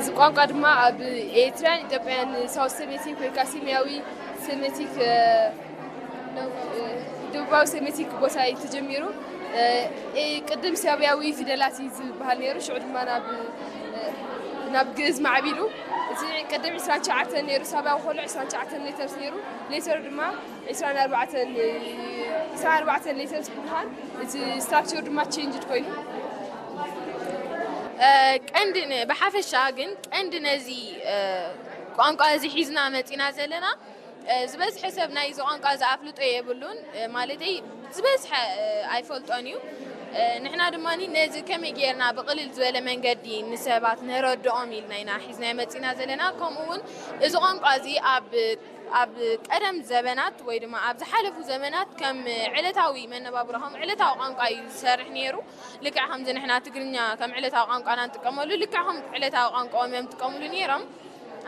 እዚ ቋንቋ ድማ ኣብ ኤርትራን ኢትዮጵያን ሳውት ሴሜቲክ ወይ ከዓ ሰሜያዊ ሴሜቲክ ደቡባዊ ሴሜቲክ ቦታ እዩ ተጀሚሩ። ቅድም ሳብያዊ ፊደላት እዩ ዝበሃል ነይሩ። ሽዑ ድማ ናብ ናብ ግእዝ ማዕቢሉ። እቲ ቅድም ዕስራን ትሽዓተን ነይሩ፣ ሳብያዊ ከሎ ዕስራን ትሽዓተን ሌተርስ ነይሩ። ሌተር ድማ ዕስራን ኣርባዕተን ዕስራን ኣርባዕተን ሌተርስ ብምዃን እቲ ስትራክቸር ድማ ቼንጅድ ኮይኑ። ቀንዲ ብሓፈሻ ግን ቀንዲ ነዚ ቋንቋ እዚ ሒዝና መፂና ዘለና ዝበዝሐ ሰብ ናይ እዚ ቋንቋ እዚ ኣፍልጦ የብሉን። ማለተይ ዝበዝሐ ኣይፈልጦን እዩ። ንሕና ድማ ነዚ ከመይ ጌርና ብቕልል ዝበለ መንገዲ ንሰባት ነረድኦም ኢልና ኢና ሒዝና መፂና ዘለና። ከምኡ እውን እዚ ቋንቋ እዚ ኣብ ኣብ ቀደም ዘበናት ወይ ድማ ኣብ ዝሓለፉ ዘበናት ከም ዕለታዊ መነባብሮ ከም ዕለታዊ ቋንቋ እዩ ዝሰርሕ ነይሩ። ልክዕ ከምዚ ንሕና ትግርኛ ከም ዕለታዊ ቋንቋና ንጥቀመሉ ልክዕ ከም ዕለታዊ ቋንቋኦም እዮም ዝጥቀምሉ ነይሮም።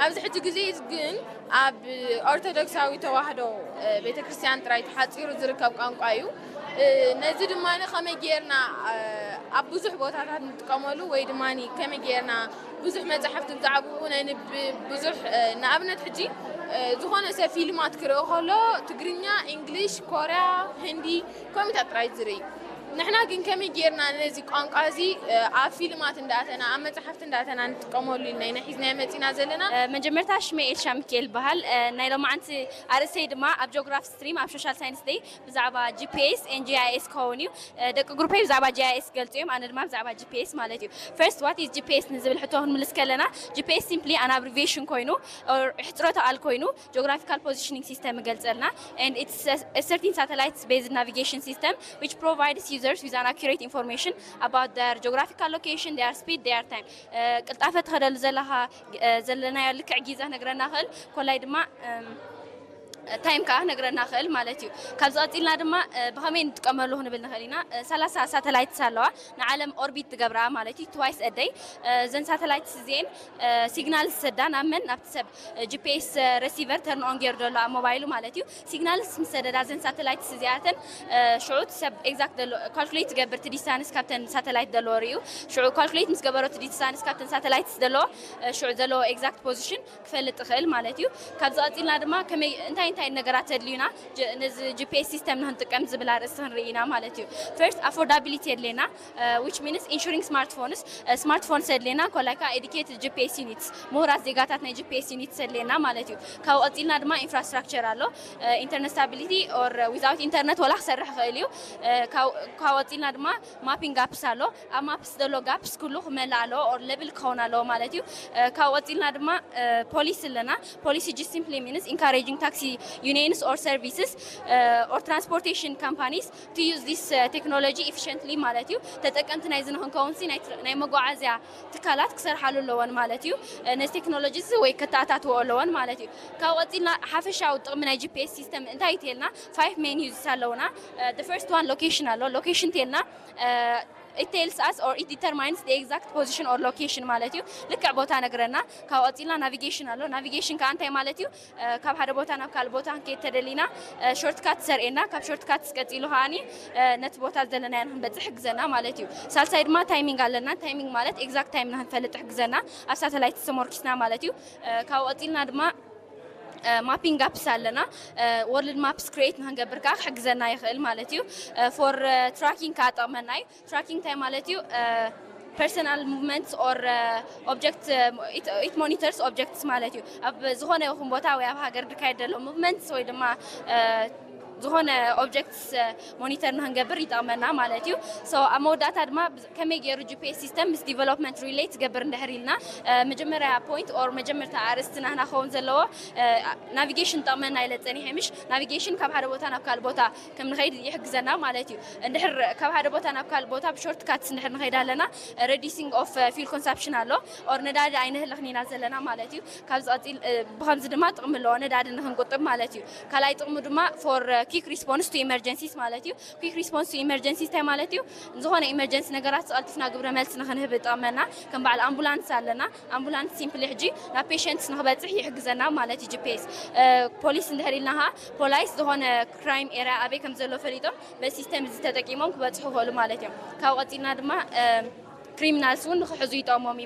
ኣብዚ ሕጂ ግዜ ግን ኣብ ኦርቶዶክሳዊ ተዋህዶ ቤተክርስትያን ጥራይ ተሓፂሩ ዝርከብ ቋንቋ እዩ። ነዚ ድማ ከመይ ጌርና ኣብ ብዙሕ ቦታታት ንጥቀመሉ ወይ ድማ ከመይ ጌርና ብዙሕ መፅሓፍቲ ብዛዕባኡ ነንብብ ብዙሕ ንኣብነት ሕጂ ዝኾነ ሰብ ፊልማት ክርኢ ከሎ ትግርኛ፣ እንግሊሽ፣ ኮርያ፣ ህንዲ ከምኡታት ጥራይ ዝርኢ። ንሕና ግን ከመይ ጌርና ነዚ ቋንቋ እዚ ኣብ ፊልማት እንዳእተና ኣብ መፅሓፍቲ እንዳእተና ንጥቀመሉ ኢልና ኢና ሒዝናዮ መፂና ዘለና። መጀመርታ ሽመይ ኤልሻ ሚካኤል ይበሃል። ናይ ሎማዓንቲ ኣርእስተይ ድማ ኣብ ጂኦግራፊ ስትሪም ኣብ ሶሻል ሳይንስ ደይ ብዛዕባ ጂ ፒ ኤስ ኤን ጂ ኣይ ኤስ ክኸውን እዩ። ደቂ ግሩፐይ ብዛዕባ ጂ ኣይ ኤስ ክገልፁ እዮም፣ ኣነ ድማ ብዛዕባ ጂ ፒ ኤስ ማለት እዩ። First, what is ጂ ፒ ኤስ ንዝብል ሕቶ ክንምልስ ከለና ጂ ፒ ኤስ simply an abbreviation ኮይኑ ሕፅረተ ቃል ኮይኑ geographical positioning system ይገልፀልና። And it's a certain satellite based navigation system which provides users with an accurate information about their geographical location, their speed, their time. ቅልጣፈ ትኸደሉ ዘለኻ ዘለናዮ ልክዕ ጊዛ ነግረና ኽእል ኮላይ ድማ ታይም ከዓ ነግረና ኽእል ማለት እዩ። ካብዚ ቀፂልና ድማ ብኸመይ ንጥቀመሉ ክንብል ንኽእል ኢና። ሰላሳ ሳተላይትስ ኣለዋ ንዓለም ኦርቢት ትገብራ ማለት እዩ። ትዋይስ ኣደይ እዘን ሳተላይትስ እዚኤን ሲግናል ዝሰዳ ናብ መን ናብቲ ሰብ ጂ ፒ ኤስ ረሲቨር ተርን ኦን ገይሩ ዘሎ ኣብ ሞባይሉ ማለት እዩ። ሲግናልስ ምስ ሰደዳ እዘን ሳተላይትስ እዚኣተን ሽዑ እቲ ሰብ ኤግዛክት ዘሎ ካልኩሌት ትገብር እቲ ዲስታንስ ካብተን ሳተላይት ዘለዎ ርእዩ። ሽዑ ካልኩሌት ምስ ገበሮ እቲ ዲስታንስ ካብተን ሳተላይትስ ዘለዎ ሽዑ ዘለዎ ኤግዛክት ፖዚሽን ክፈልጥ ይኽእል ማለት እዩ። ካብዚ ቀፂልና ድማ ከመይ እንታይ እንታይ ነገራት ተድልዩና ነዚ ጂ ፒ ኤስ ሲስተም ንክንጥቀም ዝብል ኣርእስቲ ክንርኢ ኢና ማለት እዩ። ፈርስት ኣፎርዳቢሊቲ የድልየና which means insuring smartphones ስማርትፎንስ የድልየና ኮላይ ከዓ educated ጂ ፒ ኤስ units ምሁራት ዜጋታት ናይ ጂ ፒ ኤስ units የድልየና ማለት እዩ። ካብኡ ቀፂልና ድማ ኢንፍራስትራክቸር ኣሎ። ኢንተርነት ስታቢሊቲ or without internet ወላ ክሰርሕ ይኽእል እዩ። ካብኡ ቀፂልና ድማ ማፒንግ ጋፕስ ኣሎ። ኣብ ማፕስ ዘሎ ጋፕስ ኩሉ ክመልእ ኣለዎ or ሌብል ክኸውን ኣለዎ ማለት እዩ። ካብኡ ቀፂልና ድማ ፖሊሲ ኣለና። ፖሊሲ just simply means encouraging taxi unions or services or transportation companies to use this technology efficiently ማለት እዩ። ተጠቀምቲ ናይዚ ንክንከውን ሲ ናይ መጓዓዝያ ትካላት ክሰርሓሉ ኣለወን ማለት እዩ። ነዚ ቴክኖሎጂ እዚ ወይ ከተኣታትዎ ኣለወን ማለት እዩ። ካብ ቀፂልና ሓፈሻዊ ጥቕሚ ናይ ጂ ፒ ኤስ ሲስተም እንታይ እዩ ተልና ፋይቭ ሜን ዩዝስ ኣለውና። The first one location ኣሎ። ሎኬሽን ተልና it tells us or it determines the exact position or location ማለት እዩ። ልክዕ ቦታ ነግረና። ካብ ቀፂልና ናቪጌሽን ኣሎ። ናቪጌሽን ከዓ እንታይ ማለት እዩ? ካብ ሓደ ቦታ ናብ ካልእ ቦታ ክንከይድ ተደሊና ሾርትካት ዘርእየና፣ ካብ ሾርትካት ቀፂሉ ከዓኒ ነቲ ቦታ ዘለናዮ ንክንበፅሕ ይሕግዘና ማለት እዩ። ሳልሳይ ድማ ታይሚንግ ኣለና። ታይሚንግ ማለት ኤግዛክት ታይም ንክንፈልጥ ይሕግዘና፣ ኣብ ሳተላይት ተመርኪስና ማለት እዩ። ካብ ቀፂልና ድማ ማፒንግ ጋፕስ ኣለና። ወርልድ ማፕስ ክሪኤት ንክንገብር ከዓ ክሕግዘና ይኽእል ማለት እዩ። ፎር ትራኪንግ ከዓ ጠቕመና እዩ። ትራኪንግ እንታይ ማለት እዩ? Personal movements or object it monitors objects ማለት እዩ። ኣብ ዝኾነ ይኹን ቦታ ወይ ኣብ ሃገር ዝካየድ ዘሎ ሙቭመንትስ ወይ ድማ ዝኾነ ኦብጀክትስ ሞኒተር ንክንገብር ይጠቕመና ማለት እዩ። So ኣብ መወዳእታ ድማ ከመይ ገይሩ ጂ ፒ ኤስ ሲስተም ምስ ዲቨሎፕመንት ሪሌት ትገብር እንድሕር ኢልና መጀመርያ ፖይንት ኦር መጀመርታ ኣርእስቲ ናህና ክኸውን ዘለዎ ናቪጌሽን ጠቕመና ኢለ ፀኒሐ ምሽ ናቪጌሽን ካብ ሓደ ቦታ ናብ ካልእ ቦታ ከም ንኸይድ ይሕግዘና ማለት እዩ። እንድሕር ካብ ሓደ ቦታ ናብ ካልእ ቦታ ብሾርት ካትስ እንድሕር ንኸይድ ኣለና reducing of fuel consumption ኣሎ or ነዳዲ ኣይነህልኽን ኢና ዘለና ማለት እዩ። ካብዚ ቀፂል ብኸምዚ ድማ ጥቕሚ ኣለዎ ነዳዲ ንክንቁጥብ ማለት እዩ። ካልኣይ ጥቕሙ ድማ for quick response to emergencies ማለት እዩ። Quick response to emergencies እንታይ ማለት እዩ? ዝኾነ ኢመርጀንሲ ነገራት ዝቐልጥፍና ግብረ መልሲ ንክንህብ ይጠቕመና። ከም በዓል ኣምቡላንስ ኣለና። ኣምቡላንስ ሲምፕሊ ሕጂ ናብ ፔሸንትስ ንክበፅሕ ይሕግዘና ማለት እዩ ጂ ፒ ኤስ። ፖሊስ እንድሕር ኢልና ከዓ ፖላይስ ዝኾነ ክራይም ኤርያ ኣበይ ከም ዘሎ ፈሊጦም በዚ ሲስተም እዚ ተጠቂሞም ክበፅሑ ይኽእሉ ማለት እዮም። ካብኡ ቀፂልና ድማ ክሪሚናልስ እውን ንክሕዙ ይጠቕሞም እዩ።